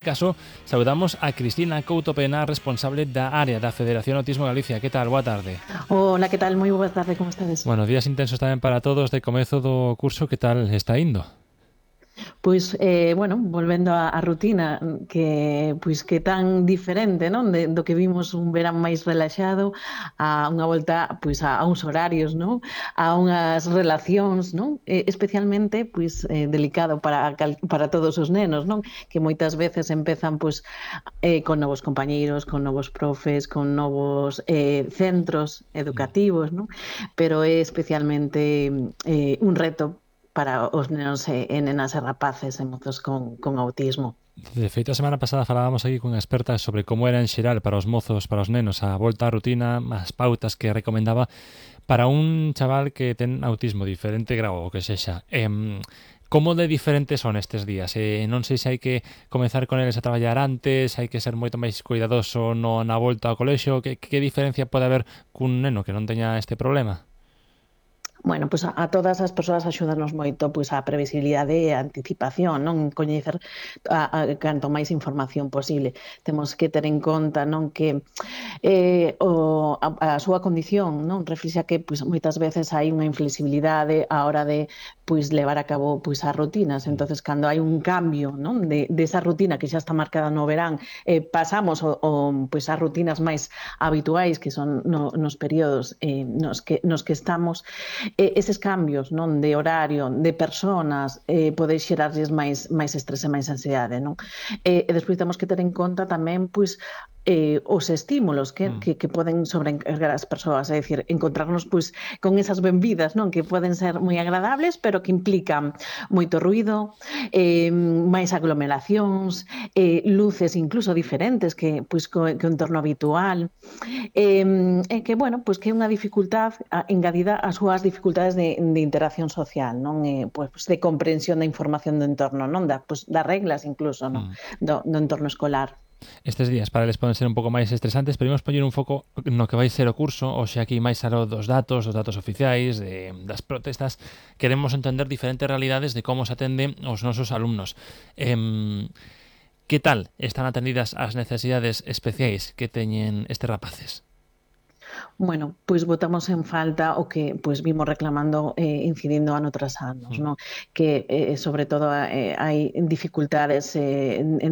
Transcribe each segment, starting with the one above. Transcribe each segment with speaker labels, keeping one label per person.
Speaker 1: Caso, saudamos a Cristina Couto Pena, responsable da área da Federación Autismo Galicia. Que tal? Boa tarde.
Speaker 2: Hola, que tal? Moi boa tarde, como estades?
Speaker 1: Bueno, días intensos tamén para todos de comezo do curso. Que tal está indo?
Speaker 2: Pois, bueno, volvendo á rutina que tan diferente, non? Do que vimos un verán máis relaxado a unha volta, pois, a uns horarios, non? A unhas relacións, non? Especialmente, pois, delicado para todos os nenos, non? Que moitas veces empezan, pois, con novos compañeiros, con novos profes, con novos centros educativos, non? Pero é especialmente un reto para os nenos e nenas e rapaces e mozos con autismo.
Speaker 1: De feito, a semana pasada falábamos aquí con expertas sobre como era en xeral para os mozos, para os nenos, a volta á rutina, as pautas que recomendaba para un chaval que ten autismo, diferente grau, o que sexa. Como de diferentes son estes días? Non sei se hai que comezar con eles a traballar antes, hai que ser moito máis cuidadoso na volta ao colexio. Que diferencia pode haber cun neno que non teña este problema?
Speaker 2: Bueno, pois a todas as persoas axúdanos moito pois a previsibilidade e a anticipación, non? Coñecer canto máis información posible. Temos que ter en conta, non, que a súa condición, non, reflexa que pois moitas veces hai unha inflexibilidade á hora de pois levar a cabo pois as rutinas. Entonces, cando hai un cambio, non, de esa rutina que xa está marcada no verán, pasamos pois as rutinas máis habituais que son nos períodos nos que estamos, eses cambios, non, de horario, de personas, pode xerarlles máis estrés e máis ansiedade, non? E despois temos que ter en conta tamén, pois, os estímulos que poden sobrecargar as persoas, é dicir, encontrarnos pois con esas benvidas, non, que poden ser moi agradables, pero que implican moito ruido, máis aglomeracións, luces incluso diferentes que pois que o entorno habitual, que bueno, pois que é unha dificultad engadida ás súas dificultades de interacción social, non? Pois de comprensión da información do entorno, non? Das reglas incluso, non? Do entorno escolar.
Speaker 1: Estes días para eles poden ser un pouco máis estresantes, pero imos poñer un foco no que vai ser o curso, hoxe aquí máis aló dos datos oficiais, das protestas. Queremos entender diferentes realidades de como se atende os nosos alumnos. Que tal están atendidas as necesidades especiais que teñen estes rapaces?
Speaker 2: Bueno, pois botamos en falta o que pois vimos reclamando incidindo ano tras anos, non? Que sobre todo hai dificultades en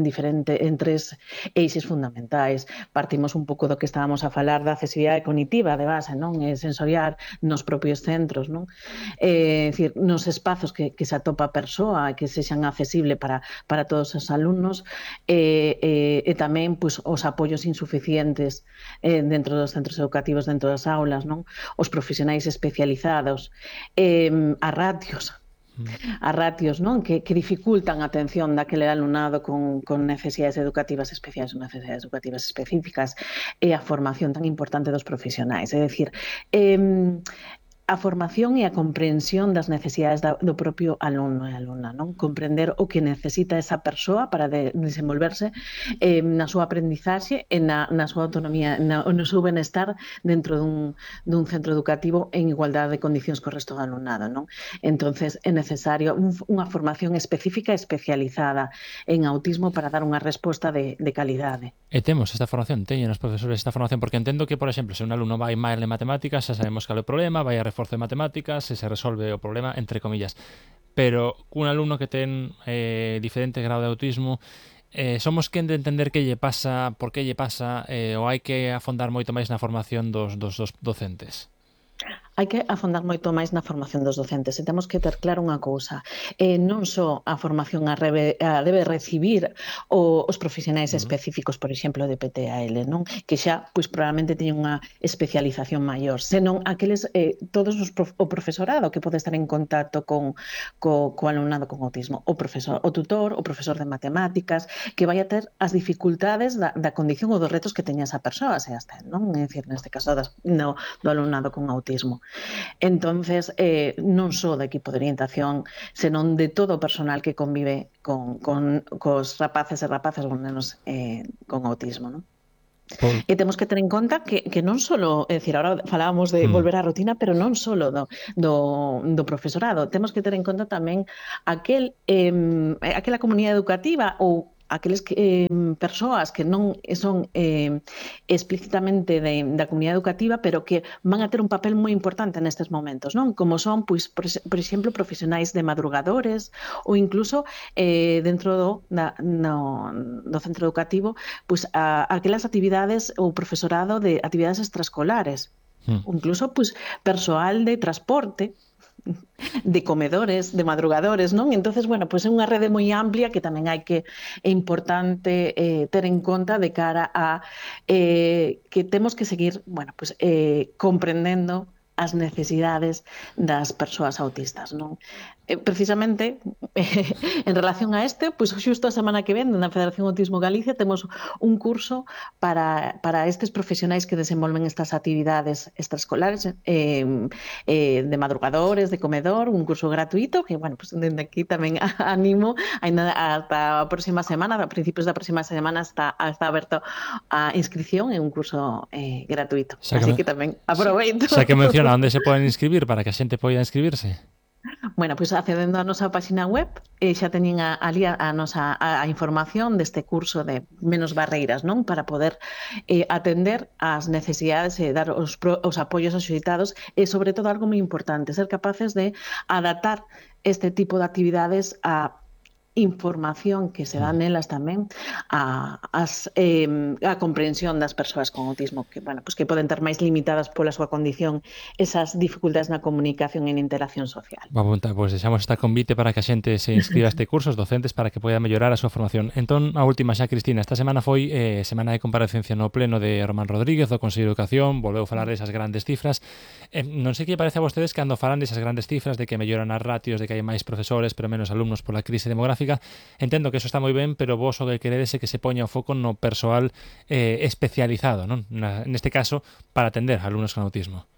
Speaker 2: tres eixes fundamentais. Partimos un pouco do que estábamos a falar da accesibilidade cognitiva de base, non? Sensorial nos propios centros, non? Dicir, nos espazos que se atopa a persoa, que sexan accesible para todos os alumnos, e tamén pois os apoios insuficientes dentro dos centros educativos, dentro das aulas, non? Os profesionais especializados, as ratios, non? Que dificultan a atención daquele alumnado con necesidades educativas especiais ou necesidades educativas específicas, e a formación tan importante dos profesionais. É dicir, a formación e a comprensión das necesidades do propio alumno e alumna, non? Comprender o que necesita esa persoa para desenvolverse na súa aprendizaxe e na súa autonomía, no seu benestar dentro dun centro educativo en igualdade de condicións co resto do alumnado, non? Entonces é necesario unha formación específica e especializada en autismo para dar unha resposta de calidade.
Speaker 1: E temos esta formación, teñen os profesores esta formación, porque entendo que, por exemplo, se un alumno vai mal en matemáticas, xa sabemos cal é o problema, vai a reforzo de matemáticas, se resolve o problema, entre comillas. Pero cun alumno que ten diferente grau de autismo, somos quen de entender que lle pasa, por que lle pasa, ou hai que afondar moito máis na formación dos docentes?
Speaker 2: Hai que afondar moito máis na formación dos docentes e temos que ter claro unha cousa, non só a formación a debe recibir os profesionais específicos, por exemplo, de PTAL, non? Que xa, pois, probablemente teñen unha especialización maior, senón aqueles, todos o profesorado que pode estar en contacto co alumnado con autismo, o tutor, o profesor de matemáticas, que vai a ter as dificultades da condición ou dos retos que teña esa persoa, se as ten, non? É dicir, neste caso do alumnado con autismo. Entonces, non só do equipo de orientación, senón de todo o personal que convive cos rapaces e rapazas con nenos con autismo, non? E temos que ter en conta que non só, é dicir, agora falábamos de volver á rutina, pero non só do profesorado, temos que ter en conta tamén aquela comunidade educativa ou aqueles persoas que non son explícitamente da comunidade educativa, pero que van a ter un papel moi importante nestes momentos, non? Como son, pois, por exemplo, profesionais de madrugadores ou incluso dentro do centro educativo, pois aquelas actividades ou profesorado de actividades extraescolares, incluso pois persoal de transporte, de comedores, de madrugadores, non? Entonces, bueno, pois é unha rede moi amplia que tamén é importante ter en conta de cara a que temos que seguir, bueno, pois comprendendo as necesidades das persoas autistas, non? Precisamente, en relación a pois xusto a semana que ven na Federación Autismo Galicia temos un curso para estes profesionais que desenvolven estas actividades extraescolares de madrugadores, de comedor, un curso gratuito que, bueno, pues dende aquí tamén animo ata a próxima semana, a principios da próxima semana está aberto a inscripción en un curso gratuito. Así que tamén aproveito.
Speaker 1: Xa que menciona onde se poden inscribir para que a xente poida inscribirse.
Speaker 2: Bueno, pois accedendo á nosa página web xa teñen ali a información deste curso de Menos Barreiras, non? Para poder atender as necesidades e dar os apoios axuitados e, sobre todo, algo moi importante, ser capaces de adaptar este tipo de actividades a información que se dá nelas tamén a comprensión das persoas con autismo que, bueno, pues que poden ter máis limitadas pola súa condición esas dificultades na comunicación e na interacción social.
Speaker 1: Pois deixamos esta convite para que a xente se inscriba a este curso, os docentes, para que poida mellorar a súa formación. Entón, a última xa, Cristina, esta semana foi semana de comparecencia no pleno de Román Rodríguez, do Consello de Educación, volveu falar desas grandes cifras. Non sei que parece a vostedes cando falan desas grandes cifras, de que melloran as ratios, de que hai máis profesores pero menos alumnos pola crise demográfica. Entendo que eso está moi ben, pero vos o que queredes é que se poña o foco no persoal especializado, non? Neste caso, para atender a alumnos con autismo.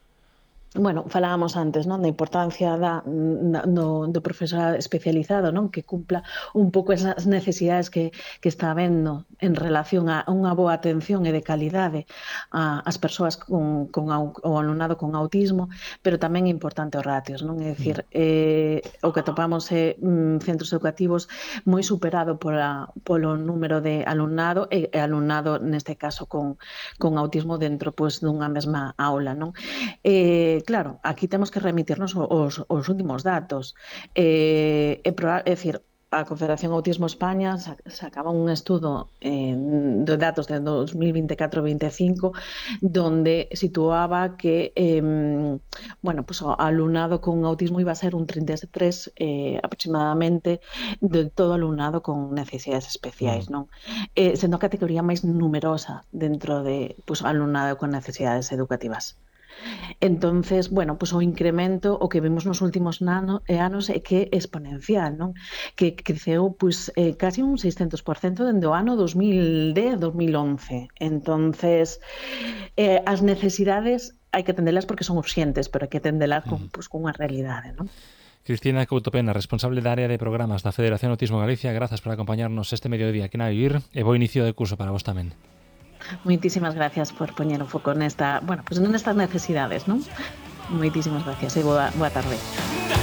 Speaker 2: Bueno, falábamos antes, non, da importancia do profesorado especializado, non, que cumpla un pouco esas necesidades que está habendo en relación a unha boa atención e de calidade ás persoas con o alumnado con autismo, pero tamén é importante os ratios, non? É dicir, o que atopamos é centros educativos moi superado polo número de alumnado e alumnado neste caso con autismo dentro, pois, dunha mesma aula, non? Claro, aquí temos que remitirnos os últimos datos. É dicir, a Confederación Autismo España sacaba un estudo de datos de 2024-25 donde situaba que bueno, pues o alumnado con autismo iba a ser un 33 aproximadamente de todo alumnado con necesidades especiais, non? Sendo a categoría máis numerosa dentro de pues, alumnado con necesidades educativas. Entonces, bueno, pues o incremento o que vemos nos últimos anos é que é exponencial, non? Que creceu pues casi un 600% dende o ano 2010-2011. Entonces, as necesidades hai que atendelas porque son urxentes, pero hai que atendelas con unha realidade, non?
Speaker 1: Cristina Couto Pena, responsable da área de programas da Federación Autismo Galicia, grazas por acompañarnos este mediodía aquí na Vivir e bo inicio de curso para vos tamén.
Speaker 2: Moitísimas gracias por poñer o foco nestas necesidades, non? Moitísimas gracias e boa tarde.